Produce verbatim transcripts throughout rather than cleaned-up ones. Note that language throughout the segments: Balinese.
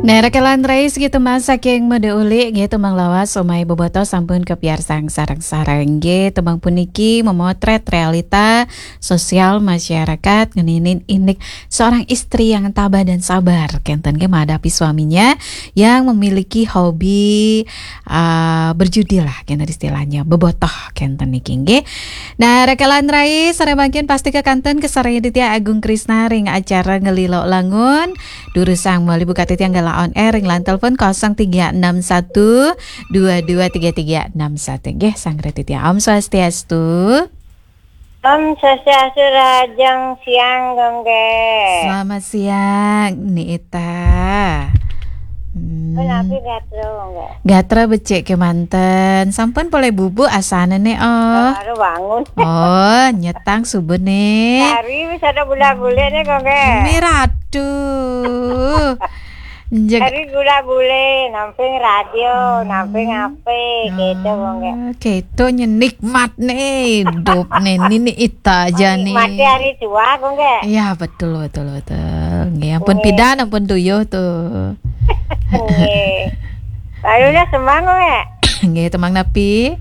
Nah, rekan rais gitu masa keng mode uli gitu manglawas omai boboto sampun kepiarsang sareng-sareng gitu mang puniki memotret realita sosial masyarakat ngeninin indik seorang istri yang tabah dan sabar kenten ke menghadapi suaminya yang memiliki hobi uh, berjudi lah kenten istilahnya bobotoh kenten niki nggih. Nah, rekan rais sare mangkin pasti kekanten kesarengin Ditya Agung Krisna ring acara Ngelilo Langun. Durusang mali buka titiang gala on air ring line telepon kosong tiga enam satu dua dua tiga tiga enam satu. Nggih, sang Retitya. Om Swastiastu. Om Swastiastu Rahajeng siang Gongge. Selamat siang, Ni Ita. Hmm. Menapi gatra Gongge. Gatra becik kemanten. Sampun polih bubuk asane ne oh. Baru bangun. Oh, nyetang subuh ne. Hari wis ada gula-gule ne Gongge. Miratu. Hari gula-gule, namping radio, namping H P, gitu Gongge. Gitu nyenikmat nih hidup nih. Ini ita aja nih. Nikmati hari tua Gongge. Iya, betul, betul, betul. Nggih, ampun pidan, ampun tuyuh tuh. Nggih. Baru dah semang Gongge. Nggih, temang napi?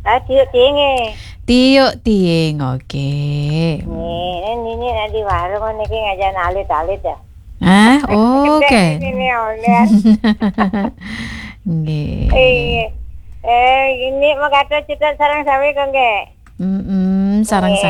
Ah, tiuk tiing. Tiuk tiing, oke. Nggih, ini nak di warung niki ngajan alit-alit ya. Ah, oke. Ini online. Nggih. Iya. Eh, ini mau kata cerita sarang sawi Gongge. Mm-mm, sarang-sarang.